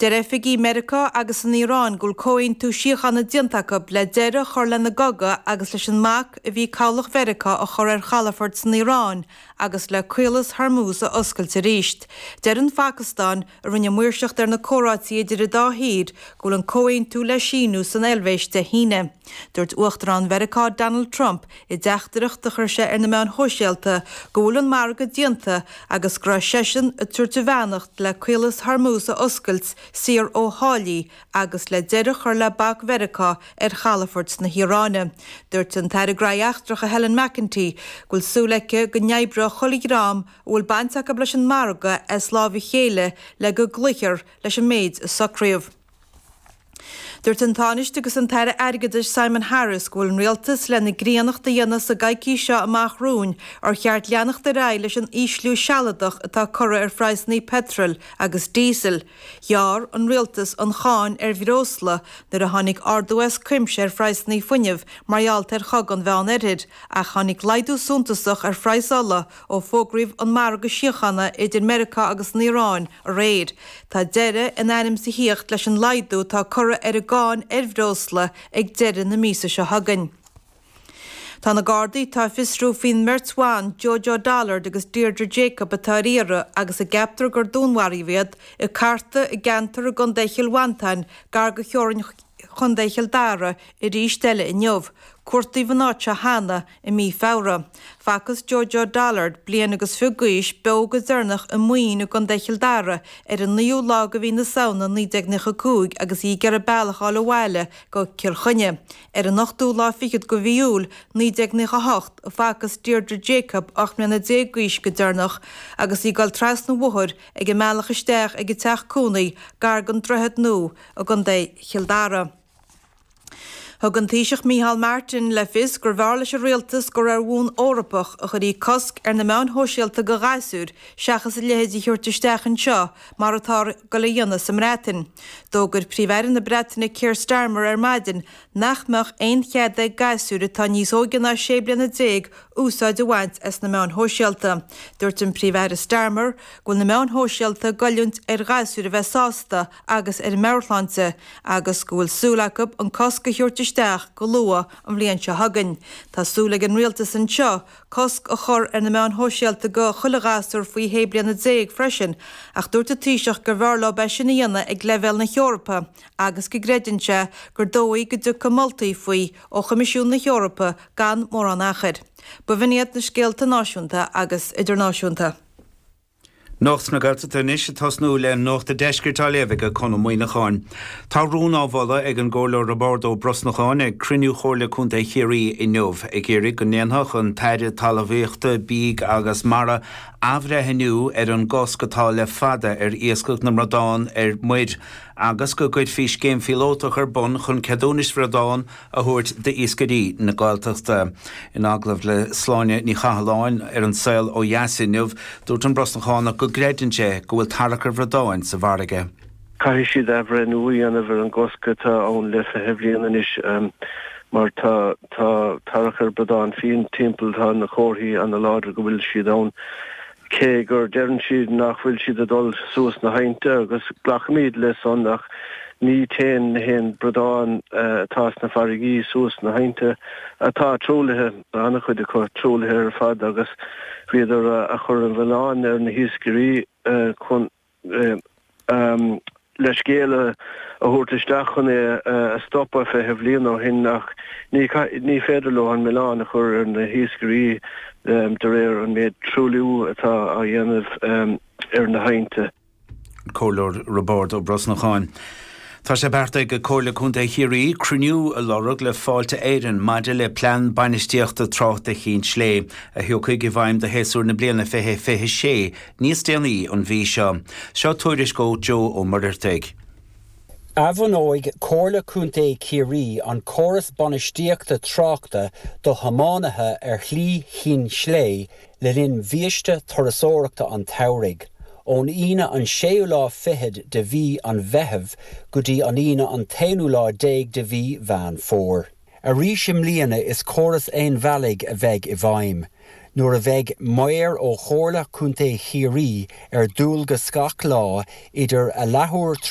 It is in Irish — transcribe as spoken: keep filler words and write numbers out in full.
Deir oifigigh Meiriceá agus an Iaráin go bhfuil comhaontú síochána déanta acu le deireadh a chur lena gcogadh agus leis an mbac a bhí cabhlach Mheiriceá a chur ar chalafoirt san Iaráin agus le Caolas Hormuz a oscailt arís. Deir an Phacastáin a rinne maoirseacht ar na comhráití idir an dá thír go bhfuil an comhaontú le síniú san Eilvéis Dé hAoine. Dúirt Uachtarán Mheiriceá Donald Trump i dteachtaireacht a chuir sé ar na meáin shóisialta go bhfuil an margadh déanta agus go raibh seisean ag tabhairt a bheannacht le Caolas Hormuz a oscailt saor ó tháillí agus le deireadh a chur le bac Mheiriceá ar chalafoirt na hIaráine. Dúirt an tAire Gnóthaí Eachtracha Helen McEntee go bhfuil súil aici go n-oibreoidh chuile dhream a bhfuil baint acu leis an margadh as lámh a chéile le go gcloífear leis an méid a socraíodh. Dúirt an Tánaiste agus an tAire Airgeadais Simon Harris go bhfuil an rialtas lena gcríonnacht a dhéanamh sa gcoicís seo amach romhainn ar cheart leanacht ar aghaidh leis an ísliú sealadach atá curtha ar phraghsanna peitril agus díosail. Ghearr an rialtas an cháin ar bhreosla nuair a tháinig ardú as cuimse ar phraghsanna fuinnimh mar gheall ar chogadh an Mheánoirthir, ach tháinig laghdú suntasach ar phraghas ola ó fógraíodh an margadh síochána idir Meiriceá agus an Iaráin aréir. Tá deireadh in ainm is a thíocht leis an laghdú atá curtha ar an gcáin ar bhreosla ag deireadh na míosa seo chugainn. Tá na Gardaí atá ag fiosrú faoin mbeirt bhan Jojo Dollard agus Deirdre Jacob atá ar iarraidh agus a gceaptar gur dúnmharaíodh iad ag cartadh i gceantar i gContae Chill Mhantáin gar do theorainn Chontae Chill Dara arís eile inniu. Cuartaíodh an áit seo cheana i mí Feabhra. Facthas Jojo Dollard, bliain agus fiche d'aois, beo go deireanach i Maoin i gContae Chill Dara ar an naoú lá de mhí na Samhna naoi déag nócha cúig agus í ag iarraidh bealach a fháil abhaile go Cill Chainnigh. Ar an ochtú lá fichead de mhí Iúil naoi déag nócha hocht a facthas Deirdre Jacob, ocht mbliana déag d'aois go deireanach agus í ag dul trasna an bhóthair ag an mbealach isteach ag an teach cónaí gar don Droichead Nua i gContae Chill Dara. Thug an Taoiseach Micheál Martin le fios gurbh fhearr leis an rialtas gur ar bhonn Eorpach a chuirfí cosc ar na meáin shóisialta do ghasúir seachas a leithéid a thabhairt isteach anseo mar atá ag dul a dhéanamh sa mBreatain. D'fhógair Príomh-Aire na Breataine Keir Starmer ar maidin nach mbeadh aon chead ag gasúir atá níos óige ná sé bliana déag úsáid a bhaint as na meáin shóisialta. Dúirt an Príomh-Aire Starmer go bhfuil na meáin shóisialta ag goilliúint ar ghasúir a bheith sásta agus ar a meabhairshláinte agus go bhfuil súil acu an cosc a thabhairt isteach go luath an bhliain seo chugainn. Tá súil ag an rialtas anseo cosc a chur ar na meáin shóisialta do chuile ghasúr faoi shé bliana déag freisin, ach dúirt an Taoiseach gurbh fhearr leo é sin a dhéanamh ag leibhéal na hEorpa agus go gcreideann sé gur dóigh go dtiocfaidh moltaí faoi ó Choimisiún na hEorpa gan mórán achair. B'in iad na scéalta náisiúnta agus idirnáisiúnta. Nuacht na Gaeltachta anois ag tosnú le Nuacht an Deiscirt á léamh ag Conn Ó Muíneacháin. Tá rún á mholadh ag an gComhairleoir Roibeárd Ó Brosnacháin ag cruinniú Chomhairle Contae Chiarraí inniu ag iarraidh go ndéanfadh an tAire Talmhaíochta, Bídh agus Mara athbhreithniú ar an gcosc atá le fada ar iascach na mbradán ar muir agus go gcuirfí scéim phíolótach ar bun chun ceadúnais bhradán a thabhairt d'iascairí na Gaeltachta. In agallamh le Sláine Ní Chathalláin ar An Saol Ó Dheas inniu, dúirt an Brosnachánach go gcreideann sé go bhfuil tarrach ar bhradáin sa bhfarraige. Caithfidh siad athbhreithniú a dhéanamh ar an gcosc atá ann le fiche bliain anois mar tá tá tarrach ar bradán fiáin timpeall, tá na comharthaí ana láidir go bhfuil siad ann. Cé gur deireann siad nach bhfuil siad ag dul suas na haibhnte agus glacaimid le san ach ní téann na haon bradán atá sna farraigí suas na haibhnte atá truaillithe, an-chuid acu truaillithe ar fad agus bhíodar a chur an mhilleáin ar na hiascairí chun le scéal a thabhairt isteach chun é a stopadh fiche bhliain ó shin ach ní ní féidir leo an milleán a chur ar na hiascairí de réir an méid truailliú atá á dhéanamh ar na haibhnte. Comhairleoir Roibeárd Ó Brosnacháin. Tá sé beartaithe ag Comhairle Contae Chiarraí cruinniú a lorg le Fáilte Éireann maidir le plean bainistíochta tráchta Chinn Slé, a thiocfaidh i bhfeidhm do shéasúr na bliana fiche fiche sé níos déanaí an mhí seo. Seo tuairisc ó Joe Ó Muircheartaigh. Athbhunóidh Comhairle Contae Chiarraí an córas bainistíochta tráchta do thiománaithe ar Shlí Chinn Slé le linn bhiaiste turasóireachta an tsamhraidh, ón Aoine an séú lá fichead de mhí an Mheithimh go dtí an Aoine an t-aonú lá déag de mhí Mheán Fómhair. Arís i mbliana is córas aonbhealaigh a bheidh i bhfeidhm, nuair a bheidh maor ó Chomhairle Contae Chiarraí ar dualgas gach lá idir a leathuair